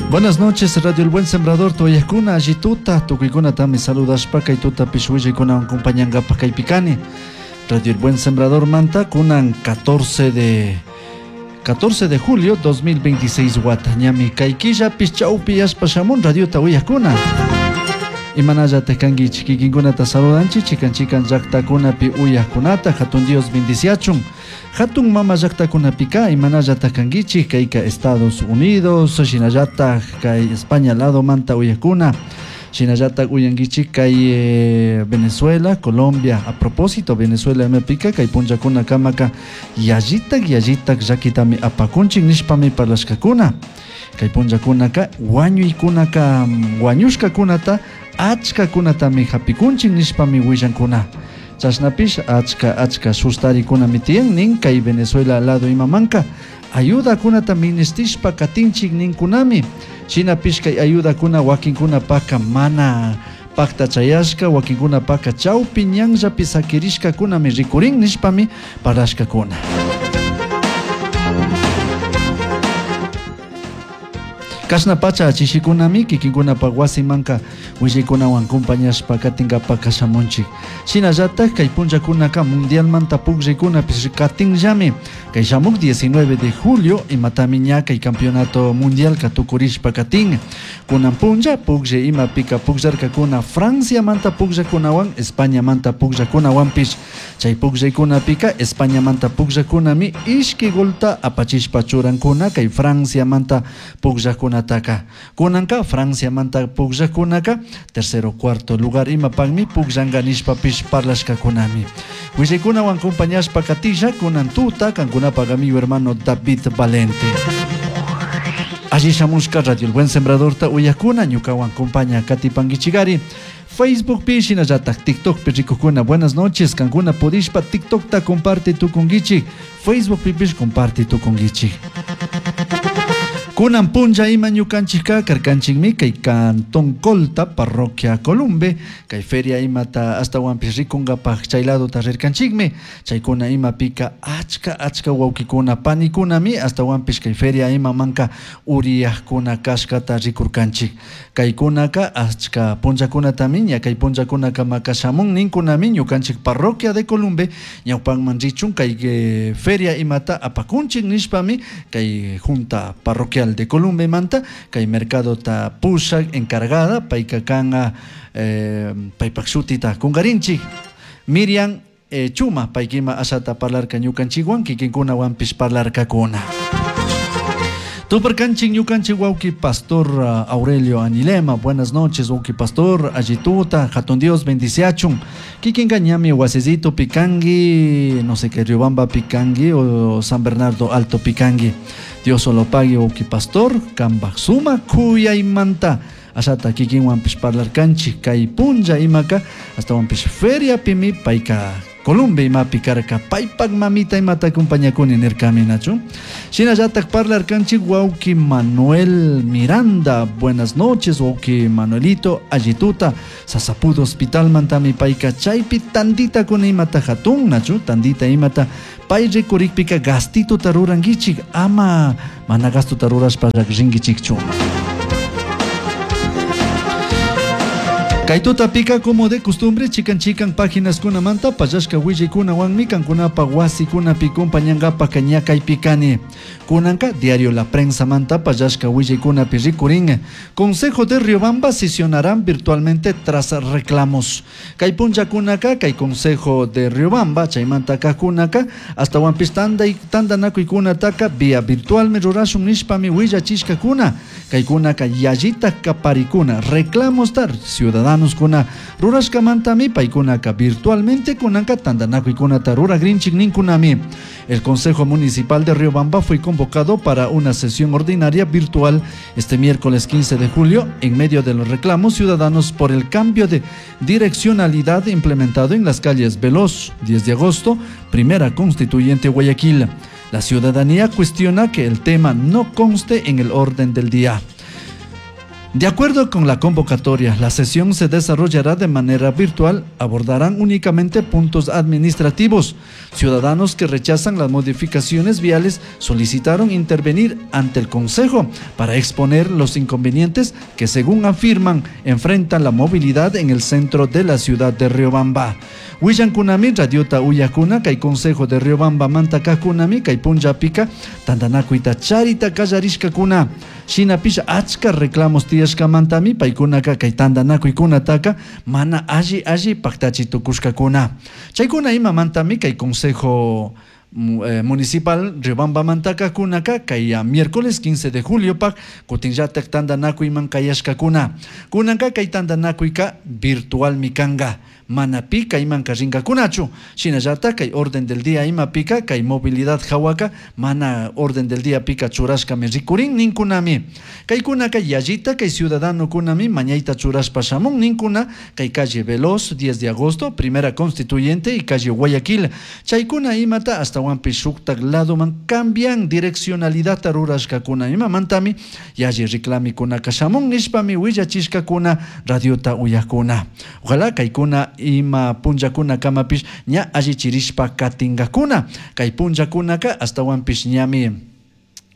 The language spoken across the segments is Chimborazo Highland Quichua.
Buenas noches, Radio El Buen Sembrador, tuyakuna, allituta, tukuykunatami saludashpa kay tutapish willaykunawan compañankapak kaypi kani. Radio El Buen Sembrador manta kunan 14 de julio 2026 wata ñami kay killapish chawpi yashpa shamun radiota uyakuna. Imanallataq kankichik kikinkunata saludanchik chikan chikan llaqtakunapi uyaqkunata hatun Dios bendiciachun. Hatun mama llaqtakunapika imanallataq kankichik kayka Estados Unidos shinallataj kay España lado manta uyaqkuna shinallataj uyankichik kay Venezuela, Colombia. A propósito Venezuela imapika kay punllakuna kamaka yallitak yallitak llakitami apakunchik nishpami parlashkakuna. Kay punllakunaka wañuykunaka wañushkakunata achkakunatami hapikunchik nishpami willankuna. Chashnapish achka achka sustarikunami tiyan nin kay Venezuela lado imamanka ayudakunata ministishpa katinchik ninkunami. Shinapish kay ayudakuna wakinkunapaka mana pakta chayashka wakinkunapaka chawpi ñanllapi sakirishkakunami rikurin nishpami parlashkakuna. Kashna pacha chishikunami kikinkunapa wasimanka willaykunawan compañashpa katinkapak kashamunchik. Shinallatak kay punllakunaka mundialmanta pukllaykunapish katinllami. Kay shamuk 19 de julio imatami ña kay campeonato mundialka tukurishpa katin. Kunan punlla pukllay imapika pukllarkakuna Franciamanta pukllakunawan Españamanta pukllakunawanpish. Chay pukllaykunapika Españamanta pukllakunami ishki golta apachishpa churankuna kay Franciamanta pukllakunataka. Kunanka Franciamanta pukllakunaka tercero cuarto lugar imapakmi pukllanka nishpapish parlashkakunami. Willaykunawan compañashpa katisha kunan tuta kankunapak amigo hermano David Valente. Allí shamushka Radio El Buen Sembradorta uyakuna ñukawan compaña katipankichikari. Facebook pi shinallatak TikTok pi rikukuna. Buenas noches, kankuna pudishpa TikTokta comparte tukunkichik, Facebook pipish comparte tukunkichik. Kunan punlla ima ñukanchikka karkanchikmi kay Cantón Colta, parroquia Columbe, kay feria imata ashtawanpish rikunkapak chay ladota rirkanchikmi. Chaykuna imapika achka achka wawkikuna panikunami ashtawanpish kay feria imamanka uriyajkuna kashkata rikurkanchik. Kaykunaka achka punllakunatami ña kay punllakunakamaka shamun ninkunami ñukanchik parroquia de Columbe ñawpanman richun kay feria imata apakunchik nishpami kay junta parroquial de Columbe manta kay mercadota pushak encargada payka kanka paypak shutita kunkarinchik Miriam Chuma paykima ashata parlarka ñukanchikwan kikinkunawanpish parlarkakuna. Tuparkanchik ñukanchik wawki Pastor Aurelio Anilema. Buenas noches wawki Pastor, allituta, hatun Dios bendiciachun. Kikinka ñami wasisito pikangi, no sé qué Riobamba pikangi o San Bernardo Alto pikangi. Dios solo pague wawki Pastor, kambak suma kuyaymanta. Ashata kikinwanpish parlarkanchik kay punlla imaka hasta wanpish feria pimi payka Columbe imapi karka paypak mamita imata acompañakuni nirkami nachu. Shinallatak parlarkanchik wawki Manuel Miranda. Buenas noches wawki Manuelito allituta Sasapudo Hospital mantami payka chaypi tandita kuna imata hatun nachu tandita imata pay rikurikpika gastituta rurankichik ama mana gastuta rurashpa rinkichikchu. Kay tutapika como de costumbre chikan chikan páginas kunamanta pallashka willaykunawanmi kankunapa wasikunapi compañankapak ñakaypi kani. Kunanka diario La Prensa manta pallashka willaykunapi rikurin. Consejo de Riobamba sesionarán virtualmente tras reclamos. Kay punllakunaka kay Consejo de Riobamba chaymanta kakunaka hasta wanpis tantanakuykunataka vía virtualmi rurashun nishpami willachishkakuna. Kaykunaka yallita kaparikuna reclamos tar ciudadanos kuna rurashkamantami paykunaka virtualmente kunanka tantanakuykunata ruragrinchik ninkunami. El Consejo Municipal de Riobamba fue convocado para una sesión ordinaria virtual este miércoles 15 de julio en medio de los reclamos ciudadanos por el cambio de direccionalidad implementado en las calles Veloz, 10 de agosto, Primera Constituyente Guayaquil. La ciudadanía cuestiona que el tema no conste en el orden del día. De acuerdo con la convocatoria, la sesión se desarrollará de manera virtual, abordarán únicamente puntos administrativos. Ciudadanos que rechazan las modificaciones viales solicitaron intervenir ante el Consejo para exponer los inconvenientes que, según afirman, enfrentan la movilidad en el centro de la ciudad de Riobamba. Willankunami radiota uyakuna kay Consejo de Riobamba manta kajkunami kay punllapika tantanakuyta charita kallarishkakuna. Shinapish achka reclamos tiyashkamantami paykunaka kay tantanakuykunataka mana alli alli paktachi tukushkakuna. Chaykuna imamantami kay Consejo Municipal Riobamba mantaka kunaka kay miércoles 15 de julio pak kutinllatak tantanakuyman kayashkakuna. Kunanka kay tantanakuyka virtualmi kanka. Mana pi kaymanka rinkakunachu. Shinallatak kay orden del día imapika kay movilidad hawaka mana orden del día pika churashkami rikurin ninkunami. Kaykunaka yallita kay ciudadano kunami mañayta churashpa shamun ninkuna kay calle Veloz 10 de agosto, primera constituyente y calle Guayaquil. Chaykuna imata astawanpish shuktak ladoman cambian direccionalidad rurashkakuna imamantami yalli reclamikunaka shamun nishpami willachishkakuna radiota uyakuna. Ojalá kaykuna ima punllakuna kamapish ña allichirishpa katingakuna. Kay punllakunaka astawanpish ñami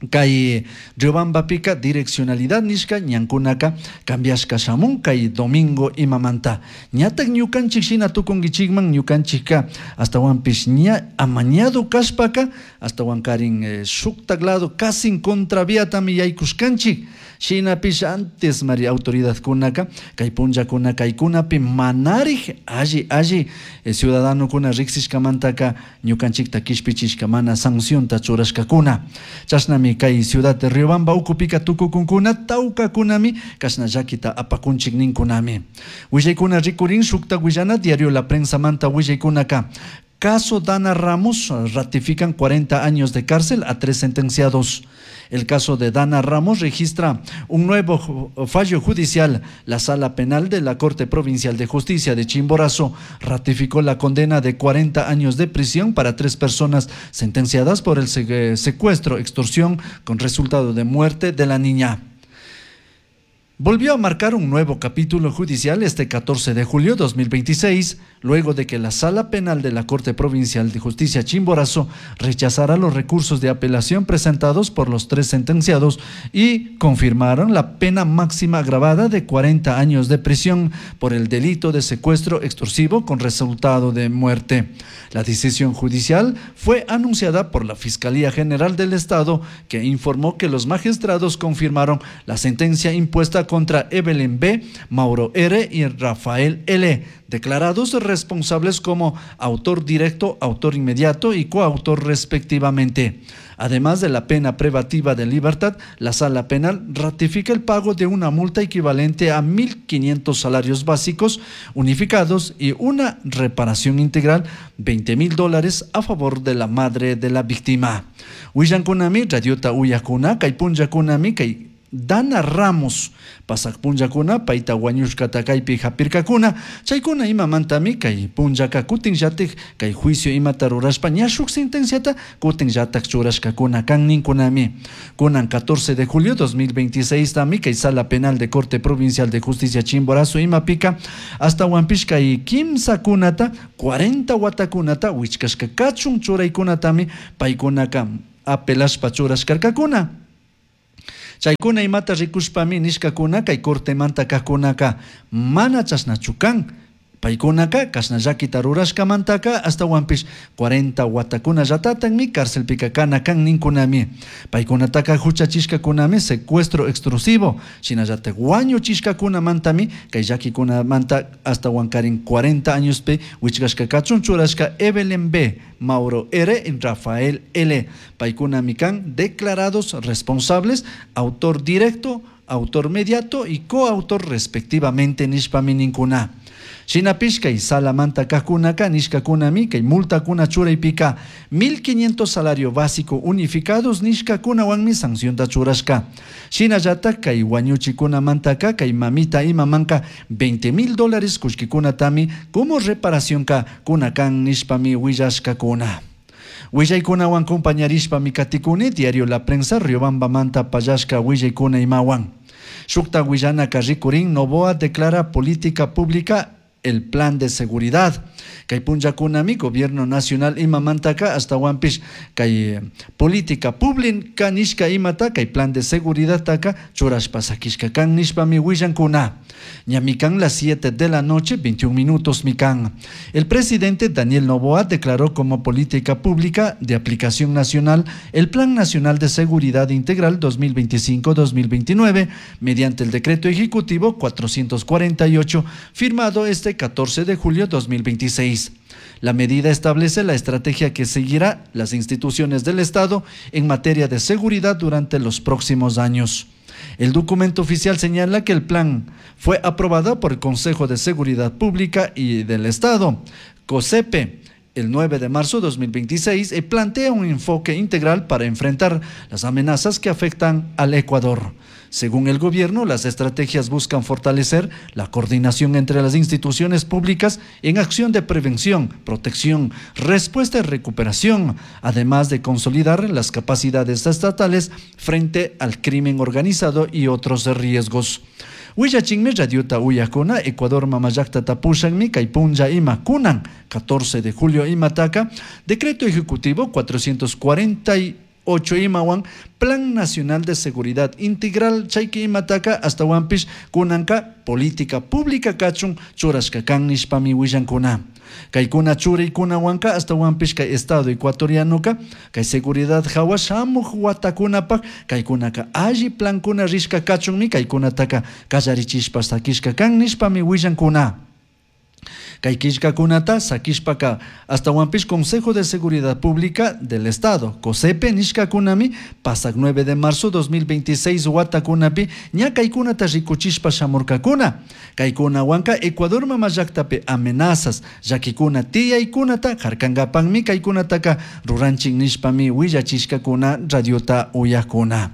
kay Riobambapika direccionalidad nishka ñankunaka cambiashka shamun kay domingo imamanta. Ñatak ñukanchik shina tukunkichikman ñukanchikka astawanpish ña amañado kashpaka astawankarin shuktak lado casi contraviatami yaykushkanchik. Shinapish antes mari autoridadkunaka kay punllakuna kaykunapi manarij alli alli ciudadanokuna riksishkamantaka ñukanchikta kishpichishka mana sancionta churashkakuna. Chashnami kay ciudad de Riobamba ukupika tukukunkuna tawkakunami kashna llakita apakunchik ninkunami. Willaykuna rikurin shukta willana diario La Prensa manta willaykunaka. Caso Dana Ramos ratifican 40 años de cárcel a 3 sentenciados. El caso de Dana Ramos registra un nuevo fallo judicial. La Sala Penal de la Corte Provincial de Justicia de Chimborazo ratificó la condena de 40 años de prisión para 3 personas sentenciadas por el secuestro, extorsión con resultado de muerte de la niña. Volvió a marcar un nuevo capítulo judicial este 14 de julio de 2026, luego de que la Sala Penal de la Corte Provincial de Justicia Chimborazo rechazara los recursos de apelación presentados por los 3 sentenciados y confirmaron la pena máxima agravada de 40 años de prisión por el delito de secuestro extorsivo con resultado de muerte. La decisión judicial fue anunciada por la Fiscalía General del Estado, que informó que los magistrados confirmaron la sentencia impuesta contra Evelyn B., Mauro R. y Rafael L., declarados responsables como autor directo, autor inmediato y coautor respectivamente. Además de la pena privativa de libertad, la Sala Penal ratifica el pago de una multa equivalente a 1.500 salarios básicos unificados y una reparación integral $20,000 a favor de la madre de la víctima. Willankunami, radiota uyakuna, kay punllakunami, kay Dana Ramos, pasak punllakuna, payta wañushkata kaypi hapirkakuna, chaykuna imamantami kay punllaka kutinllatik kay juicio imata rurashpa ña shuk sentenciata kutinllatak churashkakuna kan ninkunami. Kunan 14 de julio 2026 tami kay Sala Penal de Corte Provincial de Justicia Chimborazo imapika hasta wampish kay kimsa kunata 40 watakunata wichkashka kachun churaykunatami paykunaka apelashpa churashkarkakuna. Chaykuna imata rikushpami nishkakuna kay cortemanta kajkunaka mana chashnachu kan. Paykunaka kashna llakita rurashkamantaka astawanpish 40 watakuna llatatanmi cárcelpika kana kan ninkunami. Paykunataka huchachishkakunami secuestro extorsivo, shinallatak wañuchishkakunamantami kay llakikunamanta astawankarin 40 añospi wichkashka kachun churashka Evelyn B., Mauro R. y Rafael L. Paykunami kan declarados responsables, autor directo, autor mediato y coautor respectivamente nishpami ninkuna. Shinapish kay salamanta kajkunaka nishkakunami kay multakuna churaypika 1.500 salario básico unificados nishkakunawanmi sancionta churashka. Shinallatak kay wañuchikunamantaka kay mamita imamanka $20,000 kullkikunatami como reparacionka kunakan nishpami willashkakuna. Willaykunawan compañarishpami katikuni diario La Prensa Riobamba manta pallashka willaykuna imawan. Shukta willanaka rikurin, Noboa declara política pública el plan de seguridad. Kay punllakunami gobierno nacional imamantaka ashtawanpish kay política pública nishka imata kay plan de seguridad taka churashpa sakishka kan nishpami willankuna. Ñami kan las 7 de la noche, 21 minutos mikan. El presidente Daniel Noboa declaró como política pública de aplicación nacional el Plan Nacional de Seguridad Integral 2025-2029 mediante el Decreto Ejecutivo 448 firmado este 14 de julio 2026. La medida establece la estrategia que seguirá las instituciones del Estado en materia de seguridad durante los próximos años. El documento oficial señala que el plan fue aprobado por el Consejo de Seguridad Pública y del Estado, COSEPE, el 9 de marzo de 2026 y plantea un enfoque integral para enfrentar las amenazas que afectan al Ecuador. Según el gobierno, las estrategias buscan fortalecer la coordinación entre las instituciones públicas en acción de prevención, protección, respuesta y recuperación, además de consolidar las capacidades estatales frente al crimen organizado y otros riesgos. Willachinmi radiota uyakuna, Ecuador mamallaqtata pushanmi kay punlla ima kunan 14 de julio imataka, Decreto Ejecutivo 448 imawan, Plan Nacional de Seguridad Integral chayki imataka ashtawanpish kunanka política pública kachun churashka kan nishpami willankuna. Kaykuna churaykunawanka ashtawanpish kay Estado ecuatorianoka kay seguridad hawa shamuj watakunapaj kaykunaka alli plankuna rishka kachunmi kaykunataka kallarichishpa sakishka kan nishpami willankuna. Kay killkakunata sakishpaka ashtawanpish Consejo de Seguridad Pública del Estado, COSEPE nishkakunami pasak 9 de marzo 2026 watakunapi ña kaykunata rikuchishpa shamurkakuna. Kaykunawanka Ecuador mamallaktapi amenazas llakikuna tiyaykunata harkankapakmi kaykunataka ruranchik nishpami willachishkakuna radiota uyakuna.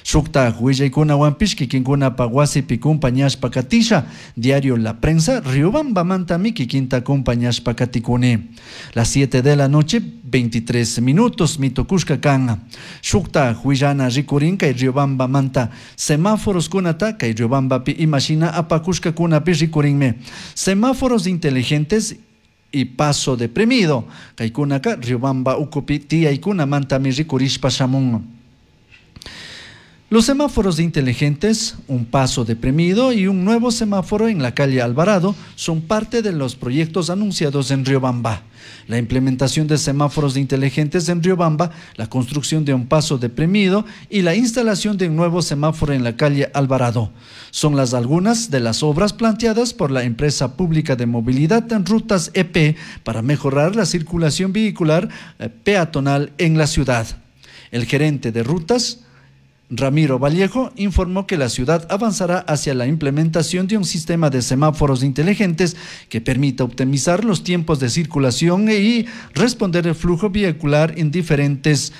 Shukta willaykunawanpish kikinkunapa wasipi kumpañashpa katisha, diario La Prensa, Riobambamantami kikinta kumpañashpa katikuni. Las 7 de la noche, 23 minutos, mitukushka kan. Shukta willana rikurin kay Riobambamanta semáforos kunata kay Riobambapi imashina apakushka kunapi rikurinmi. Semáforos inteligentes y paso deprimido. Kaykunaka Riobamba ukupi tiyaykunamantami rikurishpa shamun. Los semáforos inteligentes, un paso deprimido y un nuevo semáforo en la calle Alvarado son parte de los proyectos anunciados en Riobamba. La implementación de semáforos inteligentes en Riobamba, la construcción de un paso deprimido y la instalación de un nuevo semáforo en la calle Alvarado son las algunas de las obras planteadas por la empresa pública de movilidad en Rutas EP para mejorar la circulación vehicular peatonal en la ciudad. El gerente de Rutas, Ramiro Vallejo, informó que la ciudad avanzará hacia la implementación de un sistema de semáforos inteligentes que permita optimizar los tiempos de circulación y responder el flujo vehicular en diferentes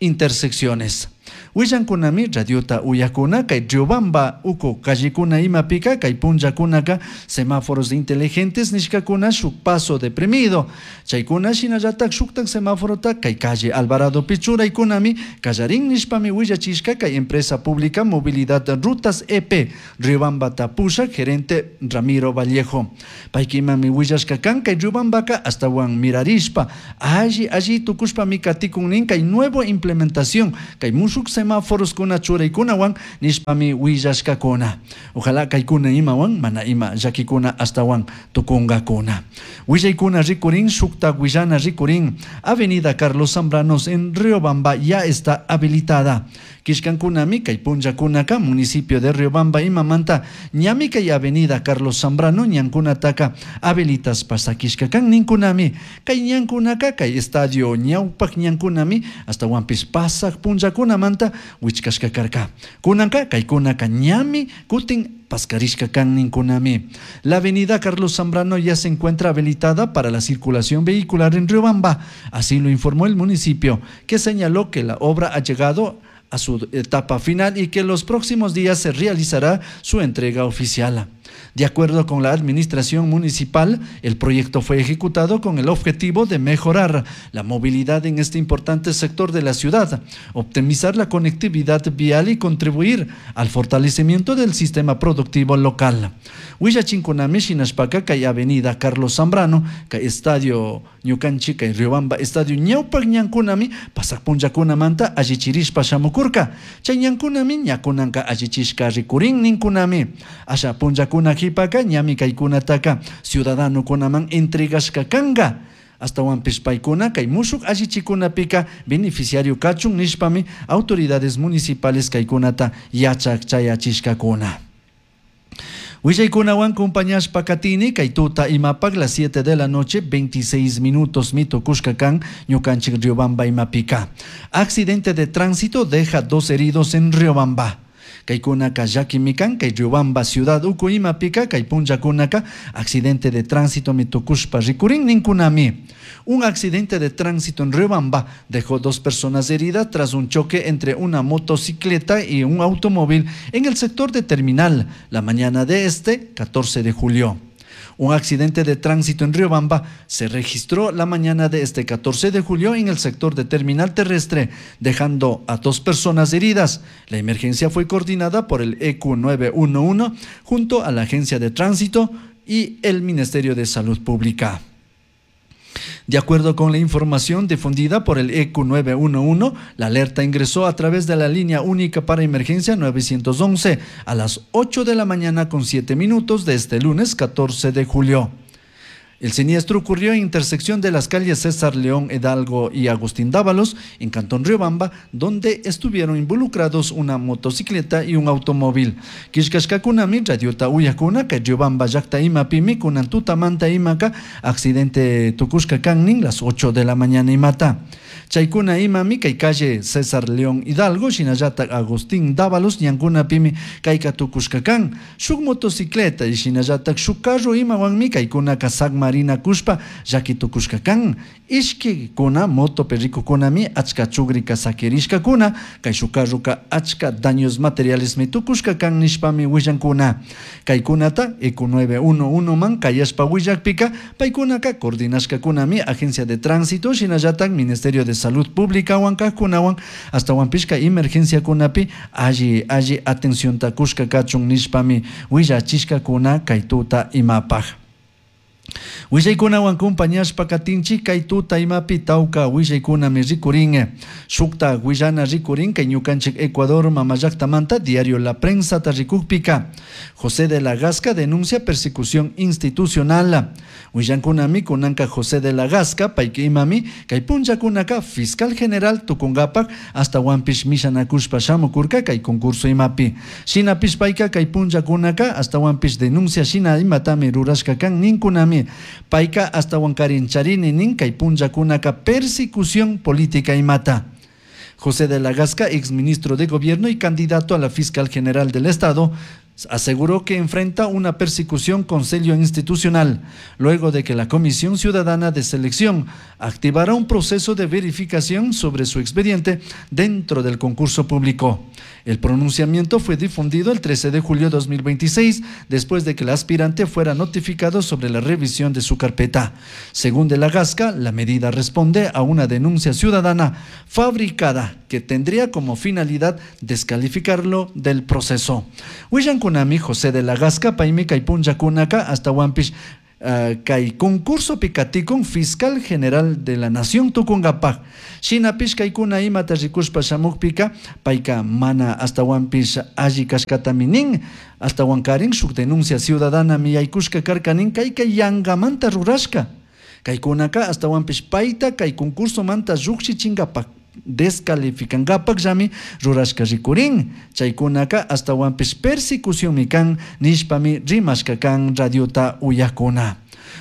intersecciones. Willankunami radiota uyakuna kay Riobamba uku callikuna imapika kay punllakunaka semáforos inteligentes nishkakuna shuk paso deprimido. Chaykuna shinallatak shuktak semáforota kay calle Alvarado pichuraykunami kallarin nishpami willachishka kay empresa pública Movilidad Rutas EP Riobamba tapusha gerente Ramiro Vallejo. Paykimami willashka kan kay Riobambaka ashtawan mirarishpa alli alli tukushpami katikun kay nuevo implementación kay mushuk semáforos kuna churaykunawan nishpami willashkakuna. Ojalá kaykuna imawan mana ima llakikuna ashtawan tukunkakuna. Willaykuna rikurin shukta willana rikurin Avenida Carlos Zambranos en Riobamba ya está habilitada. Kishkankunami kay punllakunaka municipio de Riobamba imamanta ñami kay Avenida Carlos Zambrano ñankunataka habilitas pasakishkakan ninkunami kay ñankunaka kay estadio ñawpak ñankunami ashtawanpish pasak punllakunamanta wichkashka karka. Kunanka kaykunaka ñami kutin paskarishka kan ninkunami. La avenida Carlos Zambrano ya se encuentra habilitada para la circulación vehicular en Riobamba, así lo informó el municipio, que señaló que la obra ha llegado a su etapa final y que los próximos días se realizará su entrega oficial. De acuerdo con la administración municipal, el proyecto fue ejecutado con el objetivo de mejorar la movilidad en este importante sector de la ciudad, optimizar la conectividad vial y contribuir al fortalecimiento del sistema productivo local. Willachinkunami shinashpaka kay avenida Carlos Zambrano, kay estadio ñukanchik kay Riobamba estadio ñawpak ñankunami pasak punllakunamanta allichirishpa shamukurka. Chay ñankunami ñakunanka allichishka rikurin ninkunami. Asha punllakuna qhipaka ñami kaykunataka ciudadanokunaman entregashka kanka. Astawanpish paykuna kay mushuk allichikunapika beneficiario kachun nishpami autoridades municipales kaykunata yachak chayachishkakuna. Willaykunawan compañashpa katini kay tuta imapak las 7 de la noche 26 minutos mito kan ñukanchik Riobamba imapika. Accidente de tránsito deja 2 heridos en Riobamba. Kaykunaka llakimikan kay Riobamba ciudad uku imapika kay punllakunaka accidente de tránsito mitukushpa rikurin ninkunami. Un accidente de tránsito en Riobamba dejó 2 personas heridas tras un choque entre una motocicleta y un automóvil en el sector de Terminal la mañana de este 14 de julio. Un accidente de tránsito en Riobamba se registró la mañana de este 14 de julio en el sector de Terminal Terrestre, dejando a 2 personas heridas. La emergencia fue coordinada por el EQ 911 junto a la Agencia de Tránsito y el Ministerio de Salud Pública. De acuerdo con la información difundida por el EQ 911, la alerta ingresó a través de la línea única para emergencia 911 a las 8 de la mañana con 7 minutos de este lunes 14 de julio. El siniestro ocurrió en intersección de las calles César León Hidalgo y Agustín Dávalos, en Cantón Riobamba, donde estuvieron involucrados una motocicleta y un automóvil. Kishkashkakunami, radiota uyakuna, kay Riobamba llaqta imapimi, kunan tutamanta imaka, accidente tukushka kannin, las 8 de la mañana imata. Chaykuna imami kay calle César León Hidalgo, shinallata Agustín Dávalos, ñankunapimi kayka tukushka kan. Shuk motocicleta y shinallata shuk carro imawanmi kaykunaka sagmarina kushpa llaki tukushka kan. Ishki kuna moto perrikukunami achka chugrika sakirishkakuna, kay shuk carroka achka daños materiales mi tukushka kan nishpami willankuna. Kaykunata EQ 911 man kayashpa willakpika paykunaka coordinashkakunami Agencia de Tránsito, shinallata Ministerio de Salud Pública huancakunawan hasta huampishka emergencia kunapi alli alli atención takushka kachun nishpami willachishkakuna kay tuta imapaj. Willaykunawan compañashpa katinchik kay tuta imapi tawka willaykunami rikurin. Shukta willana rikurin kay ñukanchik Ecuador mamallaktamanta diario La Prensa ta rikukpika. José de la Gasca denuncia persecución institucional. Willankunami kunanka José de la Gasca payki imami kay punllakunaka fiscal general tukungapak hasta wampish mishanakushpa shamukurka kay concurso imapi. Shinapish payka kay punllakunaka hasta wampish denuncia shina imatami rurashka kan ninkunami. Payka hasta wankarin charini nin kay punllakunaka persecución política imata. José de la Gasca, exministro de Gobierno y candidato a la fiscal general del Estado, aseguró que enfrenta una persecución con sello institucional, luego de que la Comisión Ciudadana de Selección activara un proceso de verificación sobre su expediente dentro del concurso público. El pronunciamiento fue difundido el 13 de julio de 2026, después de que el aspirante fuera notificado sobre la revisión de su carpeta. Según de la Gasca, la medida responde a una denuncia ciudadana fabricada que tendría como finalidad descalificarlo del proceso. Willankunami José de la Gasca, paymi kay punllakunaka hasta wampish kay concurso pikatikun fiscal general de la nación tukunkapaj. Shinapish kaykuna imata rikushpa shamukpika payka mana hasta wampish alli kashkatami nin, hasta wankarin shuk denuncia ciudadana miyaykushka karka nin kayka yangamanta rurashka. Kaykunaka hasta wampish payta kay concurso manta llukshichinkapaj descalificangapak llami rurashka rikurin. Chaykunaka hasta wampish persecución kan nishpami rimashka kan radiota uyakuna.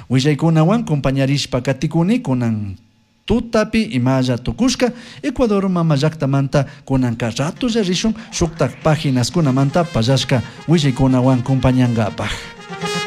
Willaykunawan compañarishpa katikuni kunan tutapi imalla tukushka Ecuador mama llaktamanta kunanka ratulla rishun shuktak páginas kunamanta pallashka willaykunawan compañangapaj.